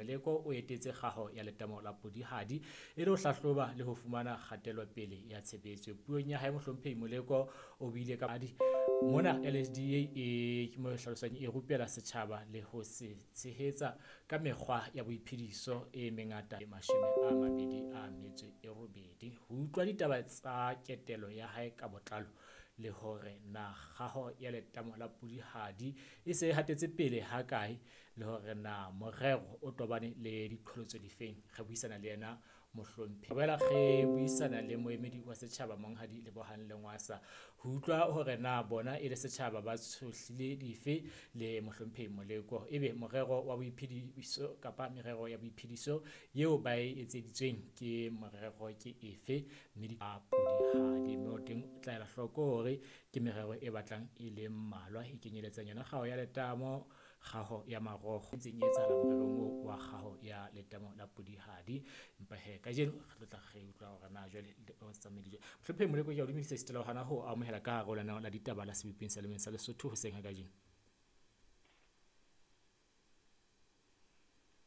Moleko o etetse kgaho ya letamo la Podihadi e le ho hlahloba le ho fumana kgatelopele ya tshebetso. Puong ya hae Mohlomphehi Moleko o buile ka mona LHDA e ke mo hlalosang e rupela setjhaba le ho se tshehetsa ka mekgwa ya boiphediso e mengata 28. Ho utlwa ditaba tsa ketelo ya hae ka botlalo le hore na kgaho ya letamo la Podihadi e se e hatetse pele ha kae le hore na morero o tobane le diqholotso difeng, re buisana le yena Mohlomphehi. Re boela re buisana le moemedi wa setjhaba Monghadi Lebohang Lengwasa ho utlwa hore na bona e le setjhaba ba tshohlile dife le Mohlomphehi Moleko, ebe morero wa boiphediso kapa merero ya boiphediso eo ba e etseditsweng ke morero ke efe, mme di Podihadi mme o teng o tla ela hloko hore ke merero e batlang e le mmalwa e kenyeletsang yona kgaho ya letamo, kgaho ya marokgo e ntseng e etsahala morerong oo wa kgaho ya letamo la Podihadi. Empa he kajeno re tlo tla re utlwa hore na jwale o tsamaile jwang. Mohlomphehi Moleko, ke a o dumedisa esita le hona ho amohela ka hare ho lenaneo la ditaba la Seboping sa Lemeng sa Lesotho hoseng ha kajeno.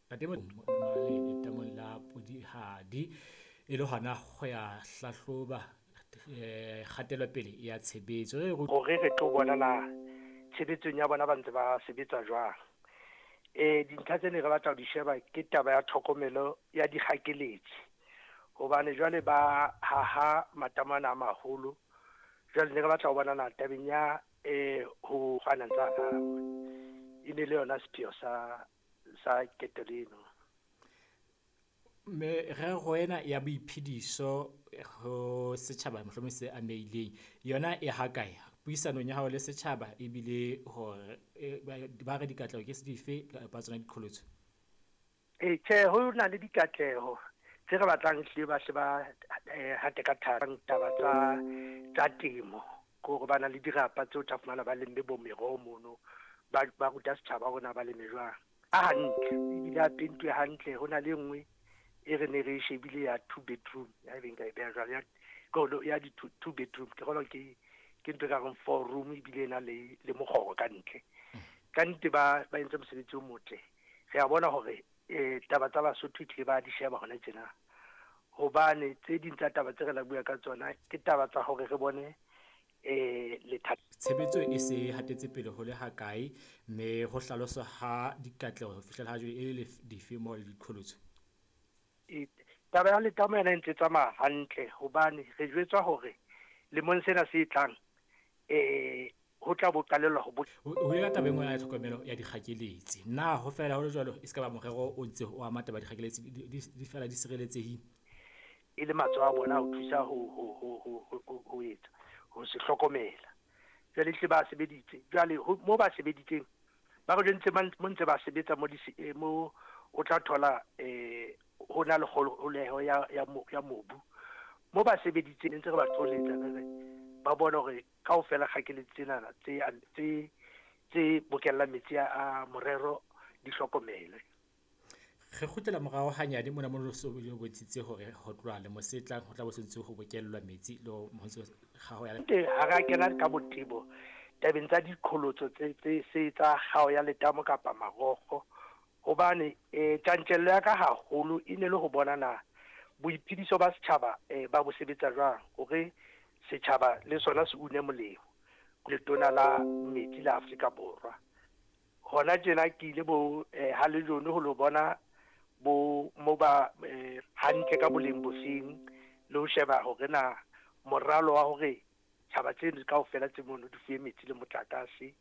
Ntate letamong la Podihadi e le hona ho ya hlahloba kgatelopele ya tshebetso. Hore re tlo bona na tshebetsong ya bona ba ntse ba sebetsa jwang. Dintlha tse ne re batla ho di sheba ke taba ya tlhokomelo ya dikgakeletsi, hobane jwale ba haha matamana a maholo. Jwale ne re batla ho bona na tabeng ya ho finance gagwe e ne le yona sepheo sa ketelo eno. Merero ena ya boiphediso ho setjhaba mohlomong se amehileng yona e ha kae puisanong ya hao le setjhaba, ebile hore ba re dikatleho ke dife kapa tsona diqholotso? Tjhe, ho na le dikatleho tse re batlang hlile ba hle ba hate ka thata taba tsa temo, ke hore ba na le dirapa tseo tla fumana ba lemme bo meroho mono, ba ruta setjhaba hore na ba leme jwang. A hantle ebile a pentuwe hantle. Ho na le e nngwe e re ne re shebile ya 2 bedroom, ya e nka e beha jwalo ya di 2 bedroom, ke kgolwa ke ntho e ka reng 4 room ebile e na le mokgoro ka ntle. Ka nnete ba entse mosebetsi o motle. Re a bona hore taba tsa Basotho tlile ba di sheba hona tjena, hobane tse ding tsa taba tse re la bua ka tsona ke taba tsa hore re bone tshebetso e se hatetse pele ho le ha kae, mme ho hlaloswa ha dikatleho ho fihlela ha jwale e le dife mo le diqholotso? Taba ya letamo yona e ntse tsamaya hantle, hobane re jwetswa hore lemong sena se tlang ho tla bo qalellwa ho ho ya taba e nngwe ya tlhokomelo ya dikgakeletsi. Na ho fela ho le jwalo e se ka ba morero o ntse o ama taba ya dikgakeletsi di fela di sireletsehile? E le matsoho a bona ho thusa ho etsa ho se hlokomela. Jwale hle ba sebeditse, jwale mo ba sebeditseng ba re jwentse mo ntse ba sebetsa mo mo o tla thola ho na le kgoholeho ya mobu. Mo ba sebeditseng ntse re ba tsoletsa re ba bona hore kaofela kgakeletsi tsenana tse bokellang metsi a morero di hlokomele. Re kgutlela morao hanyane mona mo so bile bontshitse hore ho tloha le mosetlang ho tla bo sentse ho bokellwa metsi le ho ntse kgaho ya ha ra kena ka botebo tabeng tsa diqholotso tse se tsa kgaho ya letamo kapa marokgo, hobane tjantjello ya ka haholo e ne le ho bona na boiphediso ba setjhaba ba bo sebetsa jwang hore setjhaba le sona se une molemo. Letona la metsi la Afrika Borwa hona tjena ke ile bo ha le jone ho lo bona bo mo ba hantle ka boleng bofeng le ho sheba hore na moralo wa hore tjhaba tseno kaofela tse mono di fuwe metsi le motlakase.